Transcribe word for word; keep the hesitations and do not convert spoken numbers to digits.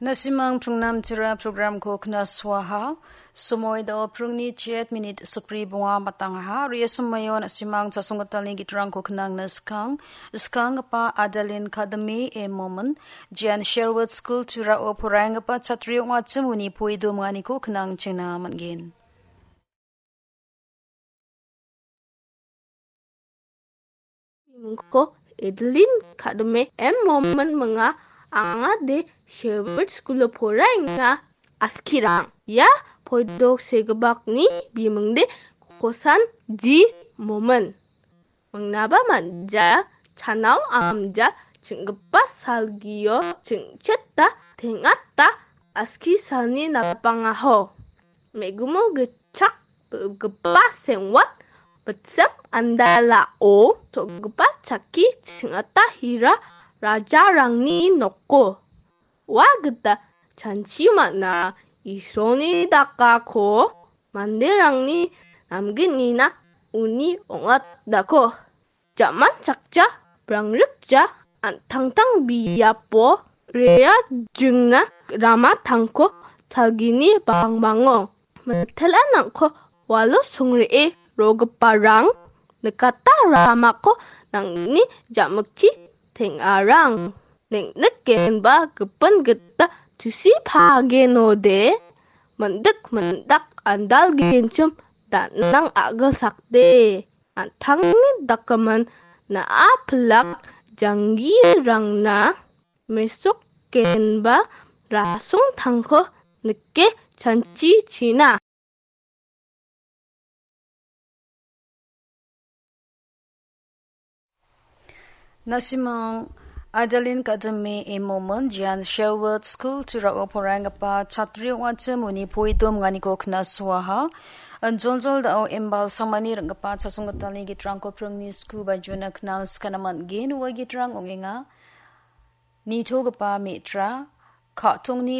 Nasimang Prungnam Tira programko knasuaha. Somoi dao prungni chet minit sukri bonga matangaha. Ria somaio nasimang chasonggitalni gitrangko knangna skang. Skanggipa Adalin Kadame e Momon, Jian Sherwood School Tirao poraienggipa chatri ong·achim uni poido manganiko knang chengna man·gen. Bimingko Edelin Kadame M Momon minga, anga de Sherwood School-o poraenga. Askirang, ia poidok segipakni bimingde Kosan G Momon. Mingnaba manja, chanao amja, ching·gipa salgio ching·cheta teng·ata aski salni napangaho. Me·gumo gitchak bilgipa sengwat bitsep andalao so·gipa chakki ching·ata hira rajarangni noko. Ua gita chanchi man·a Isolni dakako manderangni namgnina uni ong·atdako. Jamanchakja, brangrikja, an·tangtang biapo rea jingna rama tangko salgini bangbango. Mitelnangko walo songre·e rogiparang nikata ramako nangni ja·mikchi teng·arang. Neng·nikgenba gipin gita tusi pagenode, mindik mindak andalgenchim danang a·gilsakde. An·tangni dakimin na·a pilak janggirangna mesokgenba rasong tangko nike chanchichina. Nasimang Adalin Kadame e Momon, Jian Sherwood School Tirao poraienggipa chatri ong·achim uni poido manganiko knasuaha. Joljol dao imbal samani ring·gipa chasonggitalni gitrangko prungni sku bajona knang skana man·gen. Ua gitrang ong·enga. Nitogipa me·tra, ka·tongni